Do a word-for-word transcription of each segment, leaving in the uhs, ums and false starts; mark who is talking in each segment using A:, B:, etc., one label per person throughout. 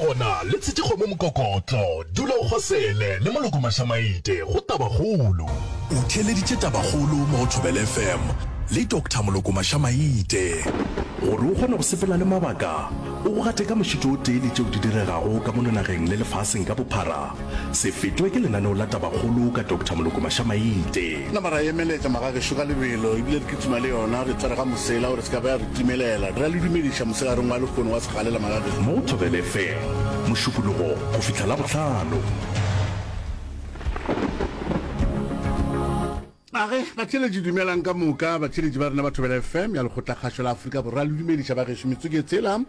A: gona le tshetše kgomo mokokotlo, dula o kgosele le Moloko Mašamaite go Tabakgolo. O theeleditše Tabakgolo mo go Thobela F M le Doctor Moloko Mašamaite. Gore o kgone go sepela le mabaka, o go gate ka mošito o tee le tšeo di diregago ka mono nageng le lefaseng ka bophara, se fetwe ke lenaneo la Tabakgolo ka Doctor Moloko Mašamaite.
B: Nama ra emeletša magagešo ka lebelo ebile re kitima le yona, re tshware ga mosela gore se ka ba ya re timelela. Re a le dumediša mosegareng wa lehono wa segalela magagešo.
A: Mo Thobela F M, Mošupologo go fihla Labohlano.
B: Age, batheeletši dumelang ka moka, batheeletši ba rena ba Thobela F M ya Lekgotlakgašo la Afrika Borwa, le dumediša ba gešo metsotso ke tsela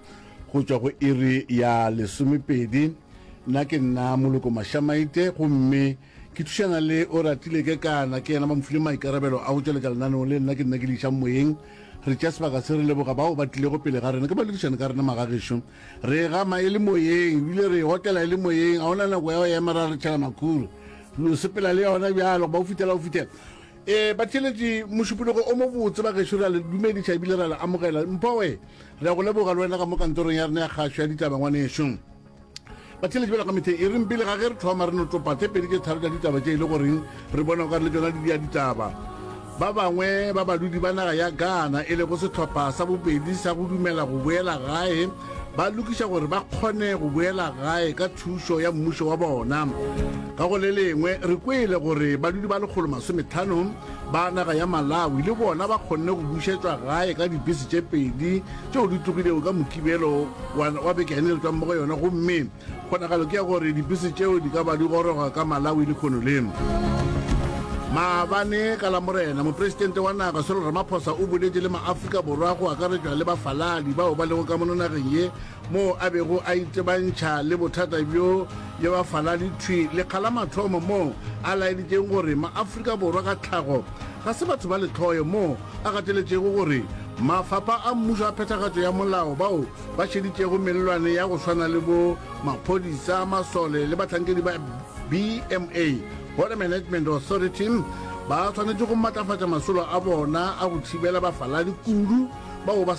B: go tšwa go iri ya lesomepedi. Nna ke nna Moloko Mašamaite gomme ke thušana le o ratile ke kana ke yena ba mo file maikarabelo a go tšweletša lenaneo le, nna ke nna ke le išang moyeng. Re tšea sebaka se re leboga bao ba tlilego pele ga rena ke baledišane ka rena magagešo. Re gama e le moyeng ebile re e otela e le moyeng, ga ona nako ya go ema ra re tšhela makhura, re sepela le yona bjalo goba o fithela o fithela. E batheeletši, mošupologo o mobotse ba gešo, re a le dumediša ebile re a le amogela. Mphowe, re a go leboga le wena ka mo kantorong ya rena ya kgašo ya ditaba ngwanešo. Batheeletši bjalo ka metheng e reng pele ga ge re thoma re no topa tše pedi tše tharo tša ditaba tše e le goreng re bona o ka re le tšona di dia ditaba. Ba bangwe ba badudi ba naga ya Ghana e lego sehlopha sa bobedi sa go dumela go boela gae ba lokiša gore ba kgone go boela gae ka thušo ya mmušo wa bona. Ka go le lengwe re kwele gore badudi ba lekgolo masometlhano ba naga ya Malawi le bona ba kgonne go bušetšwa gae ka dibese tše pedi tšeo di tlogilego ka Mokibelo wa, wa beke ya ne re tšwang mo go yona, gomme kgonagalo ke ya gore dibese tšeo di ka ba di goroga ka Malawi lehono le. Maabane ka Lamorena, Mopresidente wa naga Cyril Ramaphosa o boletše le maAfrika Borwa go akaretšwa le bafaladi bao ba lego ka mono nageng ye moo a bego a itebantšha le bothata bjo bja bafaladi thwi lekga la mathomo moo a laeditšeng gore maAfrika Borwa ka tlhago ga se batho ba lehloyo, moo a gateletšego gore mafapha a mmušo a phethagatšo ya molao bao ba šeditšego mellwane ya go swana le bo maphodisa, masole le bahlankedi ba B M A, Border Management Authority, ba swanetše go matlafatša masolo a bona a go thibela bafaladi kudu bao ba